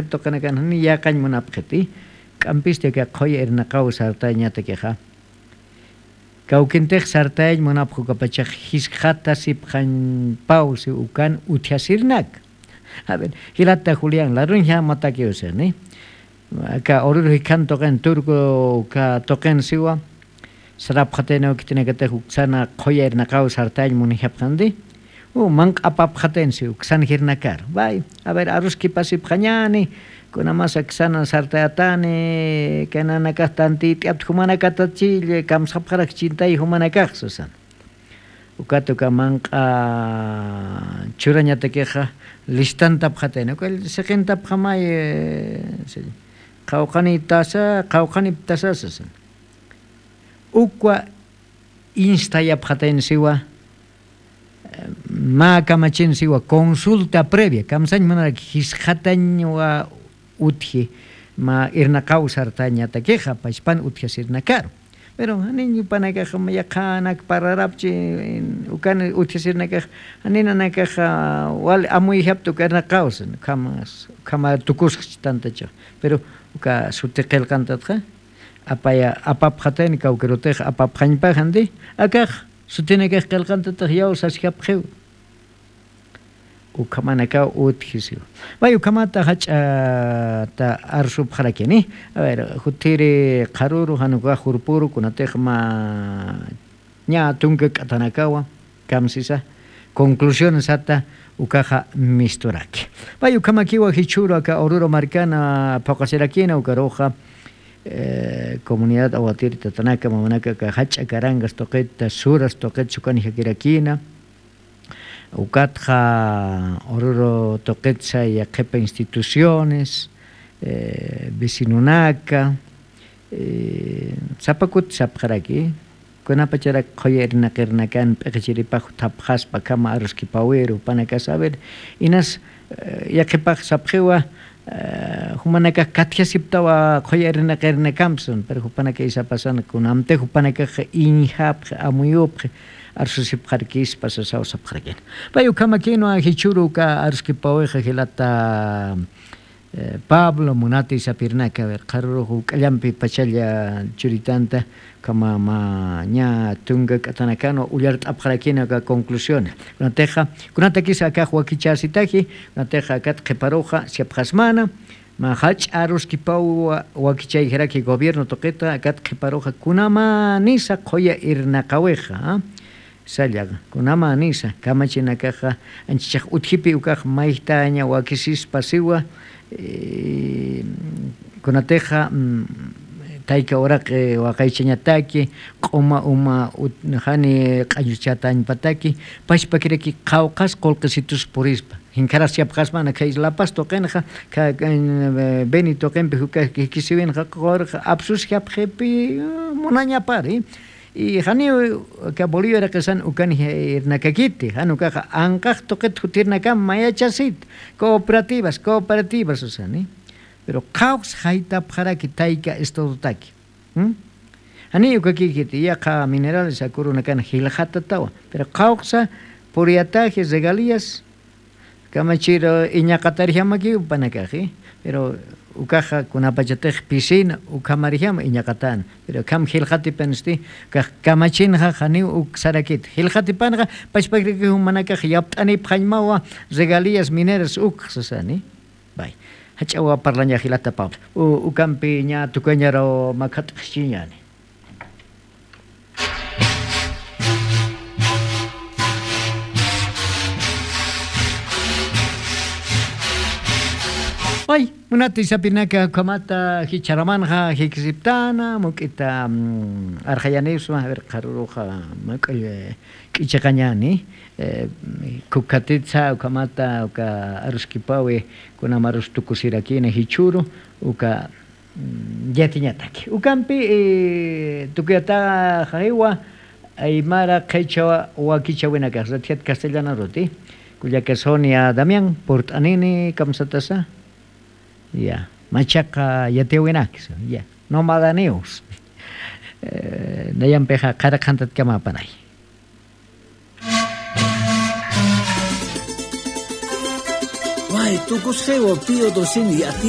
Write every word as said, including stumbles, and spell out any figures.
tuqinakan jani yaqañ munapxiti. K'ampisti aka qhuya irnaqaw sartañatakixa. Kawkintix sartayañ munapxukapachax jisqatasipxañpaw si ukan utjasirnak. A ver, jilata Julián, laruñja matakiw sini. Aka ururu jikhan tuqin turco ka tuqin siwa. Sarapxatayna ukitinakatix uksana qhuya irnaqaw sartayañ munijapxandi. U manq'apapxatin si uksan jirnakar. Bay, a ver, aruskipasipxañani. Kunamasa ksana sartayatani, kananakax tantit'apti jumanakatachilla, kamsapxarak chintay jumanakax susan. Ukat uka manq'a churañatakixa listantapxatayna. Uka siqintapxamay, eh, sí. Qhawqanitasa, qhawqaniptasa susan. Ukwa instayapxatayn siwa, eh, mä kamachin siwa consulta previa, kamsañ munarak jisqatañwa utji, mä irnaqaw sartañatakixa, pachpan utjasirnakaru. Pero janiñ jupanakax yaqhanak parlarapchi, ukan utjasirnakax, janinanakax, ah, wal amuyjapta uka irnaqaw, sin, ukhama, ukhama tukusxchi tantachax. Pero uka suti qillqantatxa, apaya, apapxatayna kawkirutix apapxañpaxandi, akax sutinakax qillqantatix yaw sasjapxiw. Ukhamanakaw utjisiw. May ukhamata jach'ata arsupxarakini. A ver, jutiri qharuru, jan ukax jurpuru, kunatix mä ña tunka k'atanakawa kamsisa conclusión sata ukaxa misturaki. Pay ukhamakiwa jichhüru aka Oruro markana phuqasirakina ukaruxa, eh, comunidad Aguatiri tatanaka mamanaka aka jach'a Carangas tuqita, Suras tuqita sukanijakirakina. Ukatxa Oruro tuqitsa yaqhipa instituciones, eh, vecinonaka, eh, sapa kuti sapxaraki, kunapacharak qhuya irnaqirnakan p'iqichiripax thapxaspa akhama aruskipawiru, jupanaka saber, inas, eh, yaqhipax sapxiwa, eh, jumanakax katjasiptawa qhuya irnaqirnakampi, pero jupanaka isapasan kunamtix jupanakax iñjapxi, amuyupxi, arsusipxarkispa sasaw sapxarakina. Pay ukhamakinwa jichhüru uka aruskipawixa jilata, eh, Pablo, munati sapirnaka, a ver, qharürux juk'allampi pachalla churitanta, ukhama mä ña tunka k'atanakanwa ullart'apxarakina uka conclusión. Kunatixa, kunatakisa akax wakichäsitaji, kunatixa akat qhiparuxa, siyapxasmana, mä jach'a aruskipaw wa-, wakichayjaraki gobierno tuqita, akat qhiparuxa, kunamänisa qhuya irnaqawixa, ¿ah? Salla, kunamänisa, kamachinakaxa, anchichax utjipi ukax mayjtaña wakisispa siwa, eh, kunatixa, mm, tayka uraqi waqaychañataki, q'uma uma ut-, jani q'añuchatañpataki, pachpakiraki qhawqhas qullqisitus purispa. Jinkharas siyapxasmana, khay La Paz tuqinxa, kha, kha, eh, Beni tuqinpi juka jikisiwinxa, qurxa apsusjapxipi, eh, munañapari. Y janiw aka Bolivia irqisan ukan irnakakiti, jan ukaxa anqax tuqit jutirnakam mayachasit, cooperativas, cooperativas, usani. Pero qhawqsa jaytapxaraki tayka estadotaki. ¿Mm? Janiy ukakikiti, yaqha minerales akurunakan jilxatatawa. Pero qhawqsa puriyataji regalías, kamachiru iñaqatarjamakiw jupanakaxi, pero ukaxa kunapachatix pisina, ukhamarjama iñaqatana, pero ukham jilxatipanisti, ukax kamachinxa janiw uk sarakit. Jilxatipanxa, pachpakiraki jumanakax yapt'anipxañmawa regalías mineras uk sasani. Bay. Jach'awa parlaña jilata Pablo. U-, ukampi ña tukañaraw makhat'xchiñani. Ay, munati sapinaka ukhamata jichharamanxa jikisiptana, muk'ita, mm, arxayanipsma, a ver, qharuruxa, mak'ull, eh, k'ichiqañani, eh, kukatitsa, ukhamata, uka aruskipawi, kunamarus tukusirakina jichhüru, uka, mm, yatiñataki. Ukampi, eh, tukuyataxaxiwa aymara qhichwa wakichawinakax, ratjat castellanaruti. Kullaka Sonia Damián, purt'anini, kamsatasa. Ya, machaqa yatiyawinaksa, ya. Nomadaniws. Eh, nayampixa qhara qhantatkamäpanay. Way, tukusxiwa Pío doce yati